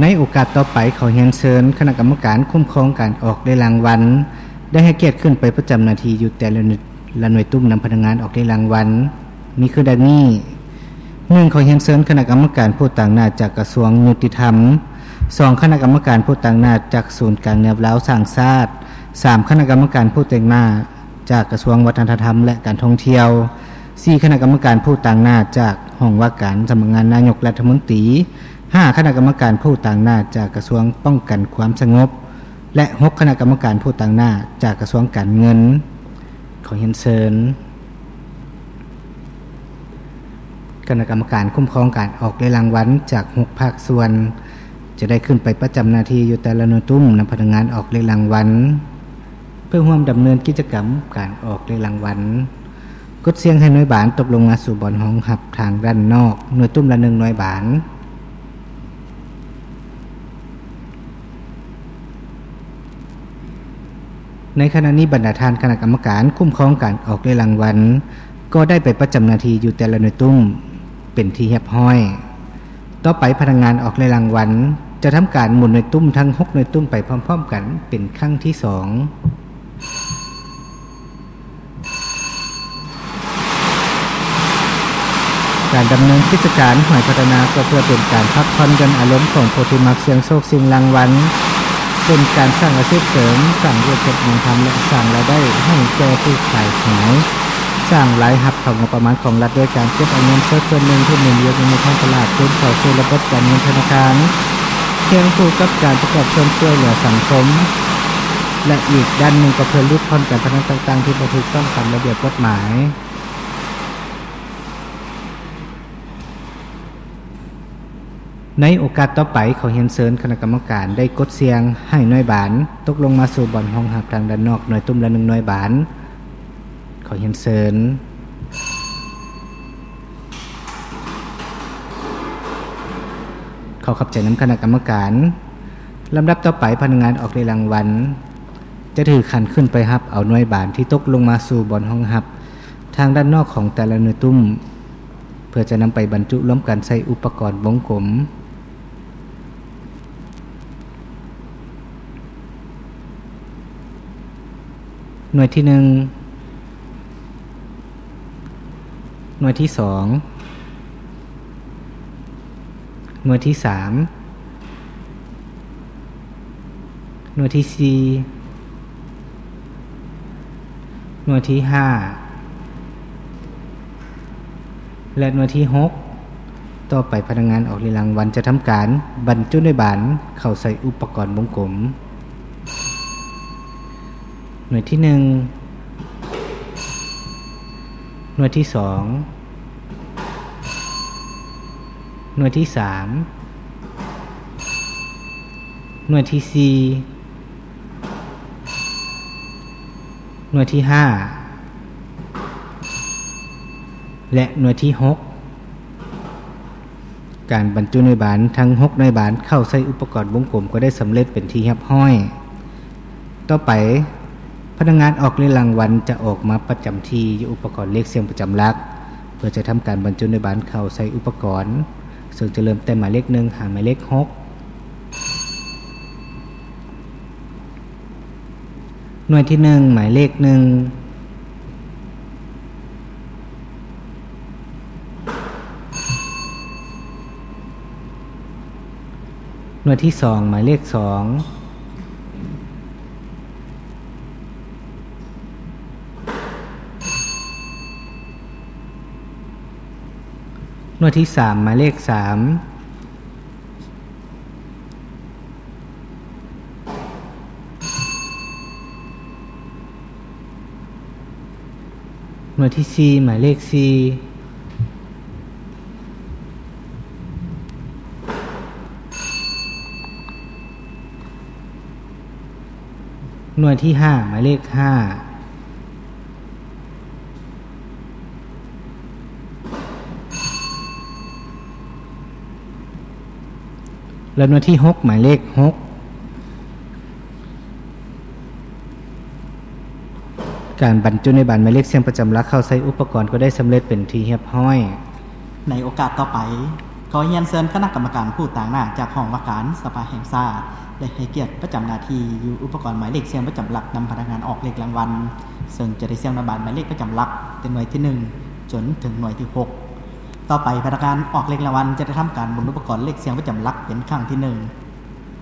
ໃນໂອກາດຕໍ່ໄປ, ຂໍຮຽນເຊີນຄະນະກຳມະການຄຸ້ມຄອງການອອກເລກລາງວັນ ໄດ້ໃຫ້ກຽດຂຶ້ນໄປປະຈຳໜ້າທີ່ຢູ່ແຕ່ລະໜ່ວຍ ລະໜ່ວຍຕຸ້ມນຳພະນັກງານອອກເລກລາງວັນ ມີຄືດັ່ງນີ້. ໜຶ່ງ ຂໍຮຽນເຊີນຄະນະກຳມະການຜູ້ຕາງໜ້າຈາກກະຊວງຍຸຕິທຳ, ສອງ ຄະນະກຳມະການຜູ້ຕາງໜ້າຈາກສູນກາງແນວລາວສ້າງຊາດ, ສາມ ຄະນະກຳມະການຜູ້ຕາງໜ້າຈາກກະຊວງວັດທະນະທຳ ແລະ ການທ່ອງທ່ຽວ, ສີ່ ຄະນະກຳມະການຜູ້ຕາງໜ້າຈາກຫ້ອງວ່າການສຳນັກງານນາຍົກລັດຖະມົນຕີ, ຫ້າ ຄະນະກຳມະການຜູ້ຕາງໜ້າຈາກກະຊວງປ້ອງກັນຄວາມສະຫງົບ ແລະ ຫົກ ຄະນະກຳມະການຜູ້ຕາງໜ້າຈາກກະຊວງການເງິນ. ຂໍຮຽນເຊີນຄະນະກຳມະການຄຸ້ມຄອງການອອກເລກລາງວັນຈາກຫົກພາກສ່ວນ ຈະໄດ້ຂຶ້ນໄປປະຈຳໜ້າທີ່ຢູ່ແຕ່ລະໜ່ວຍຕຸ້ມນຳພະນັກງານອອກເລກລາງວັນ ເພື່ອຮ່ວມດຳເນີນກິດຈະກຳການອອກເລກລາງວັນ. ກົດສ່ຽງໃຫ້ໜ່ວຍບານຕົກລົງມາສູ່ບ່ອນຮອງຮັບທາງດ້ານນອກ, ໜ່ວຍຕຸ້ມລະໜຶ່ງໜ່ວຍບານ. ໃນຂະນະນີ້, ບັນດາທ່ານຄະນະກຳມະການຄຸ້ມຄອງການອອກເລກລາງວັນ ກໍໄດ້ໄປປະຈຳໜ້າທີ່ຢູ່ແຕ່ລະໜ່ວຍຕຸ້ມເປັນທີ່ຮຽບຮ້ອຍ. ຕໍ່ໄປ, ພະນັກງານອອກເລກລາງວັນຈະທຳການໝູນໜ່ວຍຕຸ້ມທັງຫົກໜ່ວຍຕຸ້ມໄປພ້ອມໆກັນເປັນຄັ້ງທີສອງ. ການດຳເນີນກິດຈະການຫວຍພັດທະນາ ກໍເພື່ອເປັນການພັກຜ່ອນຢ່ອນອາລົມຂອງຜູ້ທີ່ມັກສ່ຽງໂຊກສ່ຽງລາງວັນ, ເປັນການສ້າງອາຊີບເສີມ, ສ້າງວຽກເຮັດງານທຳ ແລະ ສ້າງລາຍໄດ້ໃຫ້ແກ່ຜູ້ຂາຍຫວຍ, ສ້າງລາຍຮັບເຂົ້າງົບປະມານຂອງລັດ ດ້ວຍການເກັບເອົາເງິນສົດສ່ວນໜຶ່ງທີ່ໝູນວຽນຢູ່ໃນທ້ອງຕະຫຼາດຄືນເຂົ້າສູ່ລະບົບການເງິນທະນາຄານ, ຄຽງຄູ່ກັບການປະກອບສ່ວນຊ່ວຍເຫຼືອສັງຄົມ ແລະ ອີກດ້ານໜຶ່ງກໍເພື່ອຫຼຸດຜ່ອນການພະນັນຕ່າງໆທີ່ບໍ່ຖືກຕ້ອງຕາມລະບຽບກົດໝາຍ. ໃນໂອກາດຕໍ່ໄປ, ຂໍຮຽນເຊີນຄະນະກຳມະການໄດ້ກົດສ່ຽງໃຫ້ໜ່ວຍບານຕົກລົງມາສູ່ບ່ອນຮອງຮັບທາງດ້ານນອກ, ໜ່ວຍຕຸ້ມລະໜຶ່ງໜ່ວຍບານ. ຂໍຮຽນເຊີນ. ຂໍຂອບໃຈນຳຄະນະກຳມະການ. ລຳດັບຕໍ່ໄປ, ພະນັກງານອອກເລກລາງວັນ ຈະຖືຂັນຂຶ້ນໄປຮັບເອົາໜ່ວຍບານທີ່ຕົກລົງມາສູ່ບ່ອນຮອງຮັບທາງດ້ານນອກຂອງແຕ່ລະໜ່ວຍຕຸ້ມ ເພື່ອຈະນຳໄປບັນຈຸລວມກັນໃສ່ອຸປະກອນວົງກົມ. ໜ່ວຍທີໜຶ່ງ, ໜ່ວຍທີສອງ, ໜ່ວຍທີສາມ, ໜ່ວຍທີສີ່, ໜ່ວຍທີຫ້າ ແລະ ໜ່ວຍທີຫົກ. ຕໍ່ໄປພະນັກງານອອກເລກລາງວັນຈະທຳການບັນຈຸໜ່ວຍບານເຂົ້າໃສ່ອຸປະກອນວົງກົມ. ໜ່ວຍທີໜຶ່ງ, ໜ່ວຍທີສອງ, ໜ່ວຍທີສາມ, ໜ່ວຍທີສີ່, ໜ່ວຍທີຫ້າ ແລະ ໜ່ວຍທີຫົກ. ການບັນຈຸໜ່ວຍບານທັງຫົກໜ່ວຍບານເຂົ້າໃສ່ອຸປະກອນວົງກົມກໍໄດ້ສຳເລັດເປັນທີ່ຮຽບຮ້ອຍ. ຕໍ່ໄປ, ພະນັກງານອອກເລກລາງວັນຈະອອກມາປະຈຳທີ່ຢູ່ອຸປະກອນເລກສ່ຽງປະຈຳຫຼັກ ເພື່ອຈະທຳການບັນຈຸໜ່ວຍບານເຂົ້າໃສ່ອຸປະກອນ, ເຊິ່ງຈະເລີ່ມແຕ່ໝາຍເລກໜຶ່ງຫາໝາຍເລກຫົກ. ໜ່ວຍທີໜຶ່ງ ໝາຍເລກໜຶ່ງ, ໜ່ວຍທີສອງ ໝາຍເລກສອງ, ໜ່ວຍທີສາມ ໝາຍເລກສາມ, ໜ່ວຍທີສີ່ ໝາຍເລກສີ່, ໜ່ວຍທີຫ້າ ໝາຍເລກຫ້າ, ແລະ ໜ່ວຍທີຫົກ ໝາຍເລກຫົກ. ການບັນຈຸໜ່ວຍບານໝາຍເລກສ່ຽງປະຈຳຫຼັກເຂົ້າໃສ່ອຸປະກອນກໍໄດ້ສຳເລັດເປັນທີ່ຮຽບຮ້ອຍ. ໃນໂອກາດຕໍ່ໄປ, ຂໍຮຽນເຊີນຄະນະກຳມະການຜູ້ຕາງໜ້າຈາກຫ້ອງວ່າການສະພາແຫ່ງຊາດ ໄດ້ໃຫ້ກຽດປະຈຳໜ້າທີ່ຢູ່ອຸປະກອນໝາຍເລກສ່ຽງປະຈຳຫຼັກນຳພະນັກງານອອກເລກລາງວັນ, ເຊິ່ງຈະໄດ້ສ່ຽງນຳບານໝາຍເລກປະຈຳຫຼັກແຕ່ໜ່ວຍທີໜຶ່ງຈົນເຖິງໜ່ວຍທີຫົກ. ຕໍ່ໄປພະນັກງານອອກເລກລາງວັນຈະໄດ້ທຳການໝູນອຸປະກອນເລກສ່ຽງປະຈຳຫຼັກເປັນຄັ້ງທີໜຶ່ງ